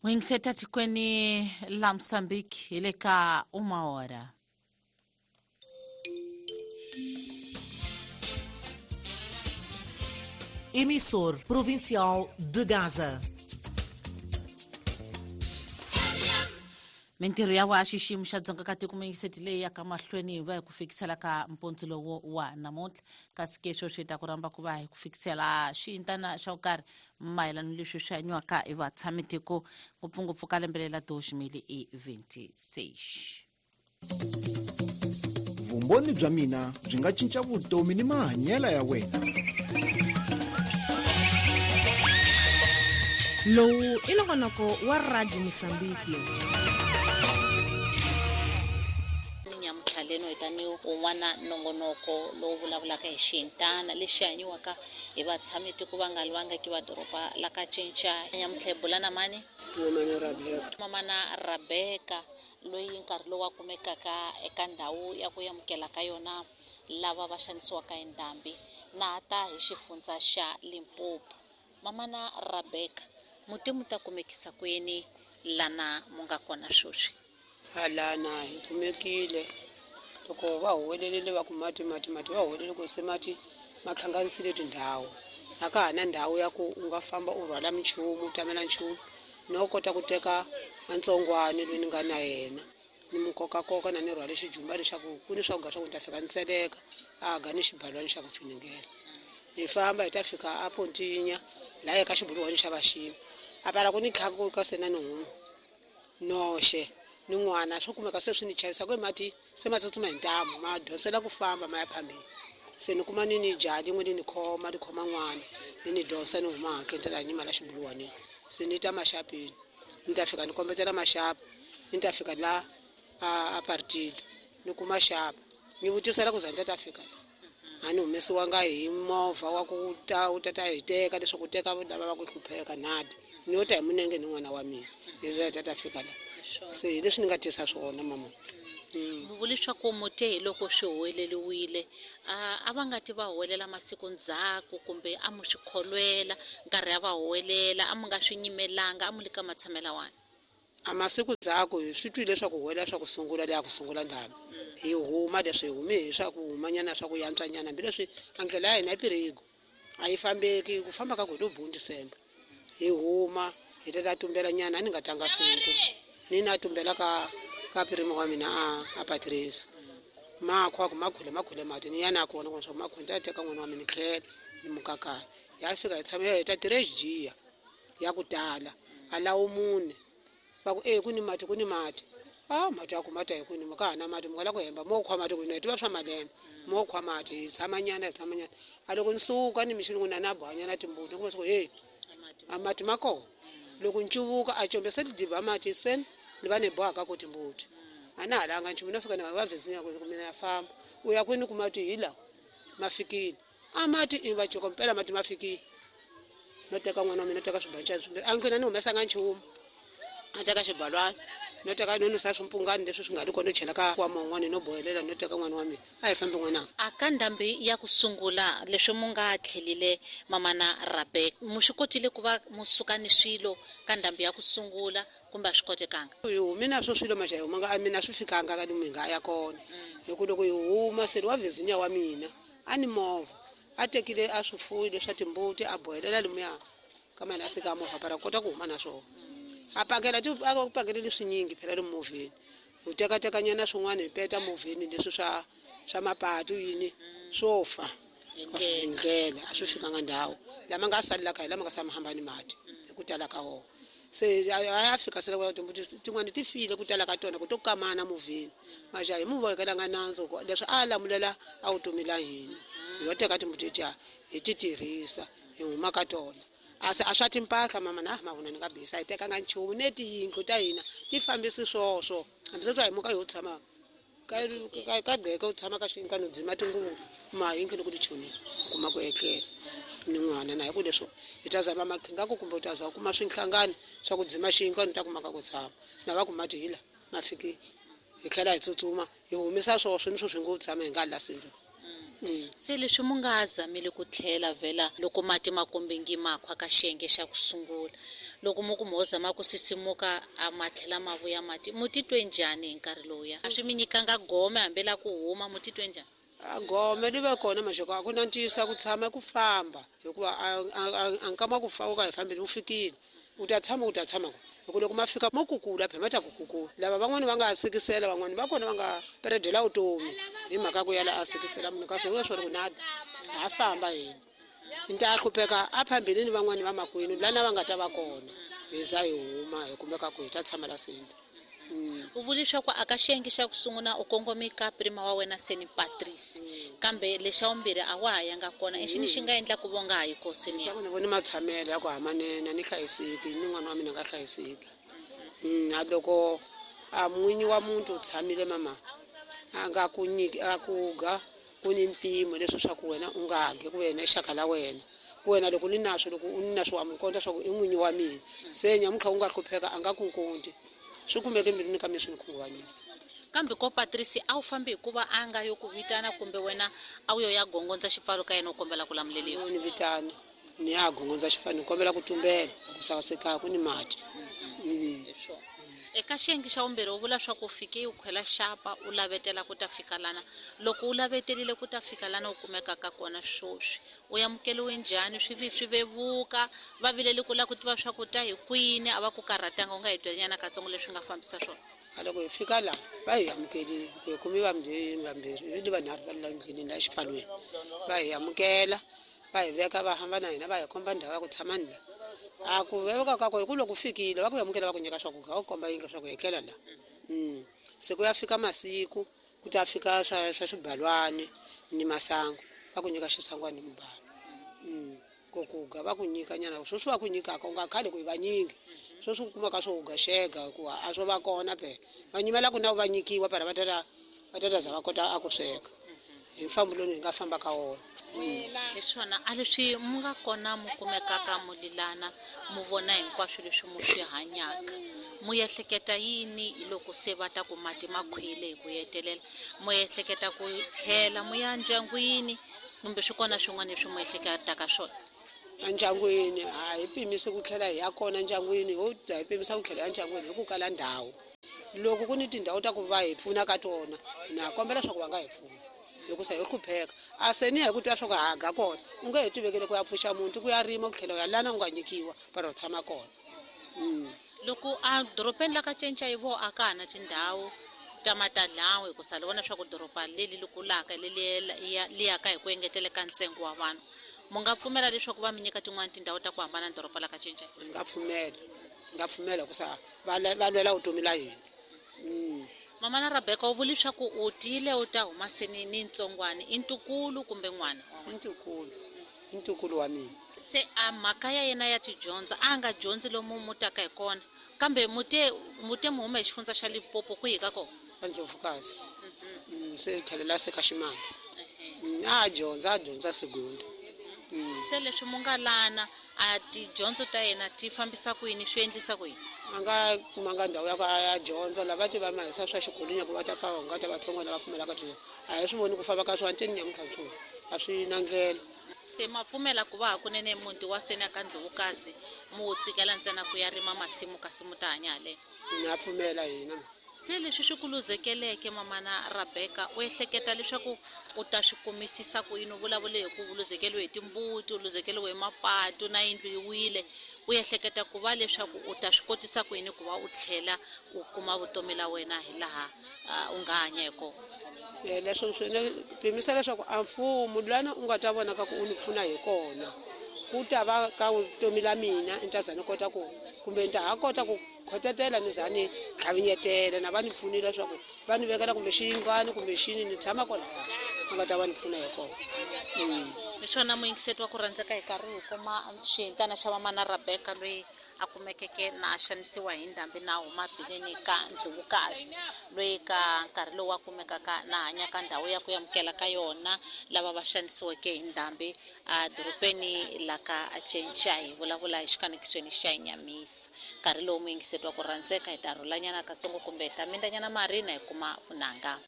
N'wingiseta tikweni la Mozambique hi le ka uma hora. Emissor Provincial de Gaza. Mintirho ya wa xiximo xa Dzonga ka tiko muyingiseti leyi yaka mahlweni hi va hi ku fikisela ka mpontso lowo wa namuntlha, kasi ke sweswi hi ta ku rhamba ku va hi ku fikisela xiyintana xa ku karhi mayelana leswi swi hanyiwaka hi vatshami tiko, ngopfungopfu ka lembe lela 2026. Vumbhoni bya mina byi nga cinca vutomi ni mahanyelo ya wena. Lowu i nongonoko wa Radio Mosambiki. Nyamuntlha leno hi ta ni wun'wana nongonoko lowu vulavulaka hi xiyintana lexi hanyiwaka hi vatshami tiko va nga lwangiki va doroba la ka Cinca. Nyamuntlha hi bula na mani? Mamana Rabeka. Mamana Rabeka, loyi nkarhi lowu a kumekaka eka ndhawu ya ku amukela ka yona lava va xanisiwaka hi ndhambi, na ta hi xifundza xa Limpopo. Mamana Rabeka, muti mu ta kumekisa kwini lana mu nga kona sweswi? Halana hi kumekile loko va huwelelile va ku mati, mati, mati, va huwelele ku se mati ma hlanganisile tindhawu. A ka ha na ndhawu ya ku u nga famba u rhwala minchumu, u tamela nchumu, no kota ku teka antsongwani loyi ni nga na yena, ni mu kokakoka na ni rhwale xijumba leswaku ku ni swakudya swa ku ni ta fika ni tseleka, a ga ni xibalwani xa ku finingela. Hi famba hi ta fika a Pontinya, laha eka xibuluwani xa Vaxima. A pala ku ni tlhaku ka se na ni huma noxe ni n'wana, swo kumeka se swi ni chavisa ku mati se ma tsutsuma hi ntamu, ma dosela ku famba ma ya phambili. Se ni kuma ni ni jaha lin'we li ni khoma, li khoma n'wana, li ni dosa ni huma hakeni, ni ta la nyima la xibuluwanini. Se ni ta maxapini, ni ta fika ni kombetela maxapa, ni ta fika la a partido, ni kuma xapa, ni vutisela ku za ni ta ta fika la. A ni humesiwanga hi movha wa ku ta, u ta ta hi teka leswaku u teka lava va ku hlupheka nada. Ni yo ta hi munenge ni n'wana wa mina, ni za hi ta ta fika la. Se hi leswi ni nga tisa swona mama. Mi vule leswaku mute hi loko swi huweleriwile, a va nga ti va huwelela masiku ndzhaku kumbe a mu swi kholwela nkarhi a va huwelela, a mu nga swi nyimelanga, a mu le ka matshamela wani? A masiku ndzhaku hi swi twile leswaku huwelela swa ku sungula leya ku sungula ndhambi. Hi huma leswi hi humi hi swa ku humanyana swa ku yantswanyana, hambileswi a ndlela ya hina yi pirigo a yi fambeki, ku famba ka ku hi lo bundi sembe. Hi huma hi ta ta tumbela nyana, a ni nga tanga siku ni na tumbela ka pirimi wa mina a Patrice. Makhwa ku makhule makhule mati ni ya na kona ku swa makhule ta teka n'wana wa mina tlhela ni mukakaya. Ya fika hi tshama ya heta tragedy ya ku tala a lawo mune. Va ku, ku ni mati, ku ni mati. Mati ya ku mati hi kwini, ka ha na mati, mi nga la ku hemba, mo khwa mati kwini, hi tiva swa malembe. Mo khwa mati, hi tshama nyana, hi tshama nyana. A loko ni suka ni mixini ku na na bohanyana timbuti, ni kuma swa ku, hey, a mati ma kona. Loko ni cuvuka, a combe se lidiba mati, se ni va ni bohaka ku timbuti. A na ha langa nchumu, no fika ni va vhezi ku mina ya famba. U ya kwini ku mati hi lawa, ma fikile. A mati i va joko mpela mati ma fikile. No teka n'wana wa mina, no teka swibancana swimbirhi. A nqina ni humesanga nchumu. A teka xibalwana, no teka no nusa swimpungani leswi swi nga ri kona, no chela ka nkwama wun'wana, no bohelela, no teka n'wana wa mina. A hi fambi n'wananga. A ka ndhambi ya ku sungula, leswi mu nga tlhelile mamana Rabeka, mu swi kotile ku va mu suka ni swilo ka ndhambi ya ku sungula kumbe a swi kotekanga? Hi humi na swo swilo majaha humanga, a mina swi fikanga ka lomu hi nga ya kona. Hi ku loko hi huma, se wa Virginia wa mina a ni movha, a tekile a swifuwo leswa timbuti a bohelela lomuya ka mali a sika movha para kota ku huma na swona. A pakela ti, a pakele leswinyingi phela lomu movheni. Hi tekatekanyana swin'wana hi peta movheni leswi swa mapatu yini swo fa. Hi ndlela a swi fikanga ndhawu. Lama nga salelaka hi lama nga sama hambani mati hi ku tala ka wona. Se a ya fika se loko timbuti tin'wana ti file ku tala ka tona ku to kamana movheni. Majaha hi mu vohekelanga nandzu ku leswi a lamulela a vutomi la hina. Hi yo teka timbuti letiya hi ti tirhisa hi huma ka tona. A se a swa timpahla mama na mavona ni nga bisa, hi tekanga nchumu ne tiyindlu ta hina ti fambisi swoswo. Hambi swi hi muka yo tshama ka gqeke u tshama ka xinka no dzima tinguvu ma yindlu loko ti chonile u kuma ku etlela ni n'wana na hi ku leswo hi ta zama maqhinga ku kumbe u ta za u kuma swinhlangano swa ku dzima xinkwa ni ta kuma ka ku tshama na va ku mati hi la ma fikile hi tlhela hi tsutsuma hi humesa swoswo ni swo swi ngo tshama hi nga la sindlu. Se leswi mu nga zamile ku tlhela vhela loko mati ma kombengi makhwa ka xiyenge xa ku sungula, loko mu ku mo zama ku sisimuka a ma tlhela ma vuya mati, mu titwe njhani hi nkarhi lowuya? A swi mi nyikanga gome hambi la ku huma, mu titwe njhani? A gome li va kona maxoko, a ku na ntiyiso ku tshama ku famba, hikuva a nkama ku fa u ka hi fambile wu fikile, u ta tshama u ta tshama ku hi ku loko ma fika mo kukula phela ma ta ku kukula. Lava van'wani va nga sikisela, van'wani va kona va nga peredela vutomi hi mhaka ku yala a sikisela munhu, kasi we swona ku na ha famba hina ni ta hlupheka a phambili ni van'wani va makwenu lana va nga ta va kona, hi za hi huma hi kumeka ku hi ta tshama la senta. U vule leswaku a ka xiyenge xa ku sungula u kongome ka prima wa wena Seni Patrice, kambe lexa vumbirhi a wa ha yanga kona. I xini xi nga endla ku vonga ha yi kosini? Ni vone matshamelo ya ku hamanene, ni hlayiseki ni n'wana wa mina nga hlayiseki. A loko a n'winyi wa muti u tshamile mama a nga ku nyiki a ku ga ku ni mpimo leswi swa ku wena u nga gi ku wena xaka la wena, ku wena loko ni naswo, loko u ni naswo wa mukonta swa ku i n'winyi wa mina, se nyamuntlha u nga hlupheka a nga ku nkonti. Swi kumeke mbilwini ka mina swi ni khunguvanyisa. Kambe ko Patrice a wu fambi hikuva a nga yo ku vitana, kumbe wena a wu yo ya gongondza xipfalo ka yena u kombela ku lamuleliwa? Ni vitana, ni ya gongondza xipfalo, ni kombela ku tumbela, ku sasekaka ku ni mati. Eka xiyenge xa vumbirhi u vula swa ku fike u khwela xapa u lavetela ku ta fika lana. Loko u lavetelile ku ta fika lana u kumekaka kona sweswi, u amukeliwe njhani? Swi vi swi vevuka, va vilele ku lava ku tiva swa ku ta hi kwini, a va ku karhatanga, u nga hi byela nyana katsongo leswi nga fambisa swona? A loko hi fika laha va hi amukelile, hi kumi vambirhi, vambirhi ni vanharhu va la ndleleni la xipfalweni, va hi amukela, va hi veka, va hamba na hina, va hi komba ndhawu ya ku tshama ni la. A ku vevuka ka ku hi ku loko u fikile va ku amukela, va ku nyika swakudya, va ku komba yindlu swa ku etlela la. Se ku ya fika masiku ku ta fika swa swibalwani ni masangu, va ku nyika xisangwani ni mubalo. Ku ku ga va ku nyika nyana, sweswi va ku nyikaka u nga khali ku hi vanyingi, sweswi u kumaka swo ga xega hikuva a swo va kona phela. Va nyimela ku na va nyikiwa para va ta za va kota a ku sweka hi mfambo lowu hi nga famba ka wona. Hi swona a leswi mu nga kona mu kumekaka mu lilana, mu vona hinkwaswo leswi mu swi hanyaka, mu ehleketa yini loko se va ta ku mati ma khwile hi ku hetelela? Mu ehleketa ku tlhela mu ya ndyangwini, kumbe swi kona swin'wana leswi mu ehleketaka swona? Endyangwini a hi pimisi ku tlhela hi ya kona ndyangwini, ho ta hi pimisa ku tlhela ya ndyangwini hi ku kala ndhawu. Loko ku ni tindhawu ta ku va hi pfuna ka tona, na kombela leswaku va nga hi pfuna, hikusa hi hlupheka. A se ni hi ku twa swa ku ha ga kona, u nge he tivekele ku ya pfuxa muti, ku ya rima, ku tlhela u ya lana u nga nyikiwa para u tshama kona. Loko a dorobeni la ka cinca hi vo a ka ha na tindhawu ta matadlawu, hikusa li vona swa ku doroba leli li kulaka, leli li yaka hi ku engeteleka ntsengo wa vanhu, mu nga pfumela leswaku va mi nyika tin'wani tindhawu ta ku hambana na doroba la ka cinca? Ni nga pfumela, ni nga pfumela hikusa va lwela vutomi la hina. Mama na Rebecca, u vule leswaku u tile u ta huma se ni ntsongwana, i ntukulu kumbe n'wana? I ntukulu, i ntukulu wa mina. Se a mhaka ya yena ya tidyondzo a nga dyondzi lomu mu taka hi kona, kambe mute mu huma hi xifundza xa Limpopo kwihi ka kona? Ka Ndlovukazi. Se tlhelela se ka Ximanga. A dyondza, a dyondza segunda. Se leswi mu nga lana, a tidyondzo ta yena ti fambisa ku yini, swi endlisa ku yini? A nga kumanga ndhawu ya ku a ya dyondza, lava ti va mahisa swa xikolweni ku va ta pfa va nga ta vatsongo lava pfumelaka dyondzo. A hi swi voni ku famba ka swona teni nyamuntlha swona, a swi na ndlela. Se ma pfumela ku va hakunene muti wa seni ka Ndlovukazi mu wu tsikela ntsena ku ya rima masimu kasi mu ta hanya haleni? Na pfumela hina. Se leswi swi ku luzekeleke mama na Rebecca, u ehleketa leswaku u ta swi kumisisa ku yini? U vulavule hi ku u luzekeriwe hi timbuti, u luzekeriwe hi mapatu na yindlu yi wile. U ehleketa ku va leswaku u ta swi kotisa ku yini ku va u tlhela u kuma vutomi la wena hi laha u nga hanya hi kona? Leswo swi ne pimisa leswaku a mfumo lana u nga ta vona ka ku u ni pfuna hi kona, ku ta va ka vutomi la mina ni ta za ni kota ku, kumbe ni ta ha kota ku khotetela ni za ni tlhavinyetela, na va ni pfunile leswaku va ni vekela kumbe xiyindlwani kumbe xini ni tshama kwalaya, va nga ta va ni pfuna hi kona. Hi swona muyingiseti wa ku rhandzeka hi karhi hi kuma xihintana xa mama na Rebecca loyi a kumekeke na a xanisiwa hi ndhambi na huma bileni ka Ndlovukazi, loyi ka nkarhi lowu a kumekaka na hanya ka ndhawu ya ku amukela ka yona lava va xanisiweke hi ndhambi a dorobeni la ka Cinca. Hi vulavula hi xikanekisweni xa Nyamisa. Nkarhi lowu muyingiseti wa ku rhandzeka hi ta rhulanyana katsongo kumbe hi ta mindanyana mari na hi kuma vunanga.